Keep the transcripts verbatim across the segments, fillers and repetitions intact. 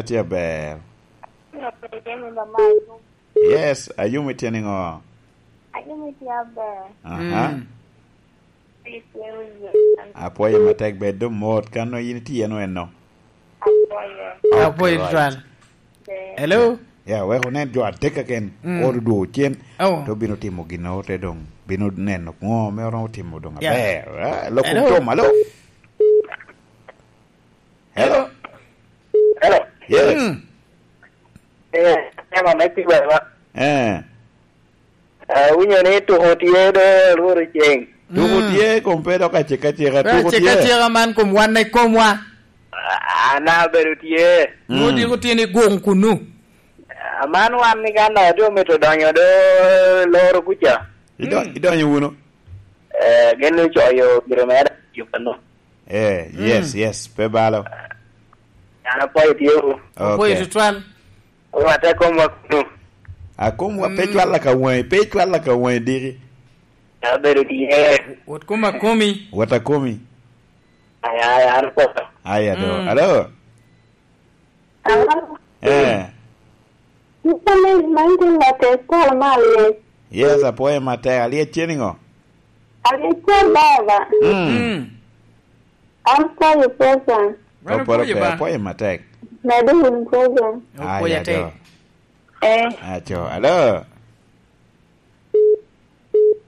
Tye aber. Yes, Ayumi tye niŋo? Ayumi tye aber. Aha. Mm. Apwoyo matek, bed doŋ mot, kan nongo in itye eno eno. Apwoyo. Okay, right. Twal. Hello? Ya, wek onen jo adek keken, mm, oto dwogo cen, oh, te obino timo gin ote doŋ, bino neno ŋo me oromo timo doŋ, yeah, aber. Ah, lok kom tom, alo? Hello? Hello? Yes. Mm. Eh, ema me pi wela. Eh. Eh, winyo ni tuko tye do lworo ceng. Tuko, mm, tye, kom pe dok acika acika, pe tuko acika tye. Acika man kom wan i komwa. Ah, ana bedo tye. Mm. Nwoŋo diko tye ni guŋ kunu. Ah, man wan ni kan do omito donyo do loro kuca. Idon-, mm, idonyo wunu? Eh, gin ocoyo gire mere, yuba no. Eh, yes, mm, yes, pe balo. An apwoyo tye wu. Apwoyo, okay, tutwal. Orwatte komwa kunu. Akomwa pe, mm, cwalla ka waŋi, pe cwalla ka waŋi diki. Abedo tye. Wot kom akomi. Wot akomi. Aya, aya, an apwoyo. Aya do. Mm. Alo? Alo? Eh. Ito ni man tin latek pol mal, yes. Yes, apwoyo matek. Alyec tye niŋo? Alyec tye baba. Mm. Mm. An apwoyo pesa. Wan opwoyo pe, ba. Apwoyo matek. Medo wun program. Opwoyo atek. Aya do. Eh. Aco, alo?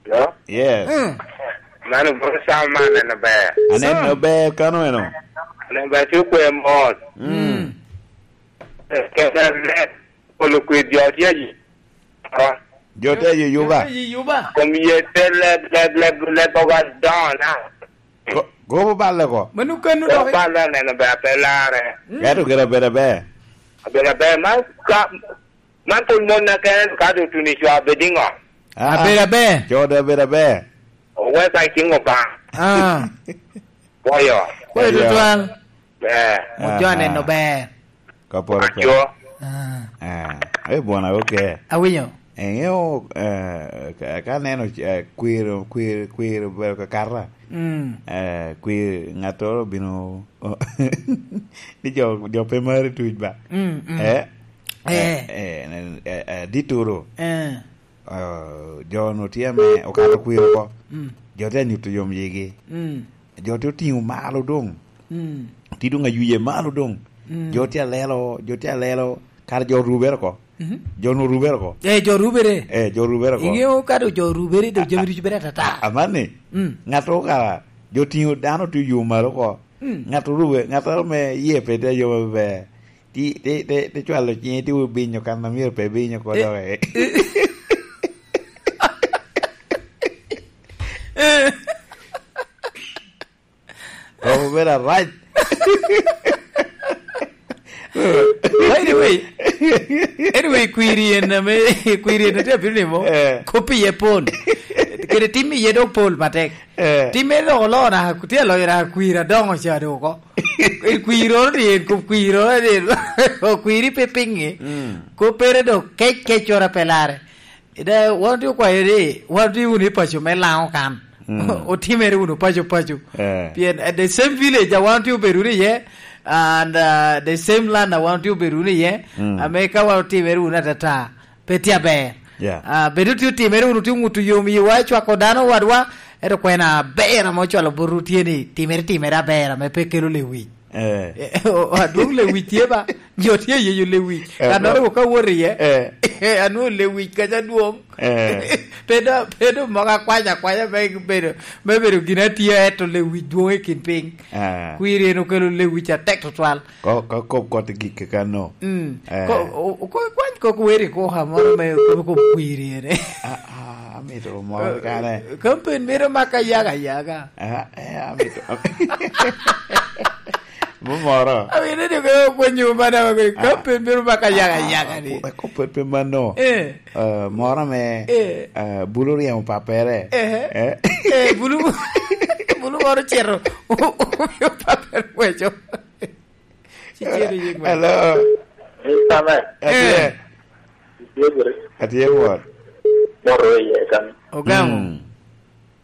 Hello? Yes. Mm. Mano bro, Sam, man aneno ber. Aneno ber kano eno. Aneno ber, tye kwe mot. Mm. Mm. Eh, kede leb, polo kwir jo tye ayi. Jo tye ayi Yuba. Jo tye ayi Yuba. Kom ye te leb, leb, leb, leb oga down now. Go-, gobo balle ko. Mano kano. Gobo dok. Balle aneno ber, pe lare. Mm. Gato kede abeda ber. Abeda ber, man ka, Man pwod mon na kene, ka doŋ otuno i cwa, bed iŋo? Ah, ah. Abedo aber. Codo abedo aber. Oweko i ciŋ Obaŋa. Ah. Pwoyo. Pwoyo tutwal. Eh. Ojo aneno ber. Ka poro pe. Aco. Ah. Ah. Eh, bwona, okay. Awinyo. Eŋeo, eh, ka, ka neno, eh, kwero, kwero, kwero obedo kakata, mm, eh, kwero, ŋattoro obino, ni jo, jo pe maro tuc ba. Mm, mm. Eh? Eh. Eh, eh, eh, eh, ditoro. Eh. Eh, jo-nu tye ame okato kwir oko. Mm. Jo tye anyuto yom yigi. Mm. Jo tye otiŋo malo doŋ. Mm. Tye doŋ ayuye malo doŋ. Mm. Jo tye alelo, jo tye alelo, kara jo rubere oko. Mhm. Jo-nu rubere oko. Eh, jo rubere. Eh, jo rubere oko. Iŋeo ka doŋ jo rubere, doŋ jami ducu bedo atata. A-, amanni, mm, ŋattoro kara, jo tiŋo dano tye oyumo malo oko. Mm. Ŋat orube, ŋattoro me yie pe te yom aber. Ti, ti, ti, ti cwalo ciŋe, ti obinyo kan a myero pe binyo oko, eh, dok, eh. Eh. Romo bedo arac. By the way, anyway, kwiri en ame, kwiri en ame tye abino nimo, eh, kop iye pol. Kede tim iye dok pol matek. Eh. Timme dok oloo naka, tye aloyo naka kwir adoŋo ca dok oko. Kwiroro ni en, kop kwiroro ni en. Okwiri pe piŋi. Mm. Koppere dok kec kec coro pe lare. Ida, wan otye okwayo ni, wan otye wunu i paco me Laŋo kan. Mm. Otimere wunu paco paco. Eh. Pien, uh, the same village a wan otye obedo wunu iye, and, uh, the same land a wan otye obedo wunu iye, mm, ame ka wan otimere wunu atata, pe tye aber. Yeah. Ah, bedo tye otimere wunu tye oŋuto yom yiwa, cwako dano wadwa, ento kwena aber ame ocwalo botwu tye ni timere, timere aber ame pe kelo lewic. Eh. Eh, o-, o-, adwoŋ lewic tye ba, jo tye ayeyo lewic. Eh, kannoro bro. Ka wot iye, eh, anwoŋo lewic kaca dwoŋ. Eh. Pe do, pe do moko akwanya akwanya me bedo, me bedo gin atye, ento lewic dwoŋ i kin piny. Eh. Kwiri en okelo lewic atek tutwal. Ko, ko, ko, koti gik kano. Mm. Eh. Ko, o, o, ko, kwany kok weri ko ha moro me, ko, ko kwiri ene. Ah, ah, amito moro kane. Kampen mito maka yaga yaga. Ah, eh, amito. Mumoro. Amito ni ko kwanyo mana ko, ah, kampen mito maka yaga yaga ni. Ko, ko pe, pe mano. Eh. Eh, moro me, eh, eh, bulu ryemo papere. Eh. Eh. Eh, bulu, bulu moro cito. Papere weco. Ci cito yik me. Hello. Mister Man. Atye. Eh. Itye gure? Atye mot. Moro iye kan. Ogamo. Mm.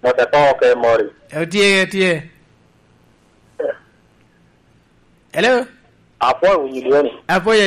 Mot ato ke mori. Atye, atye. Eh. Hello? Apwoyo winyo dwoni. Apwoyo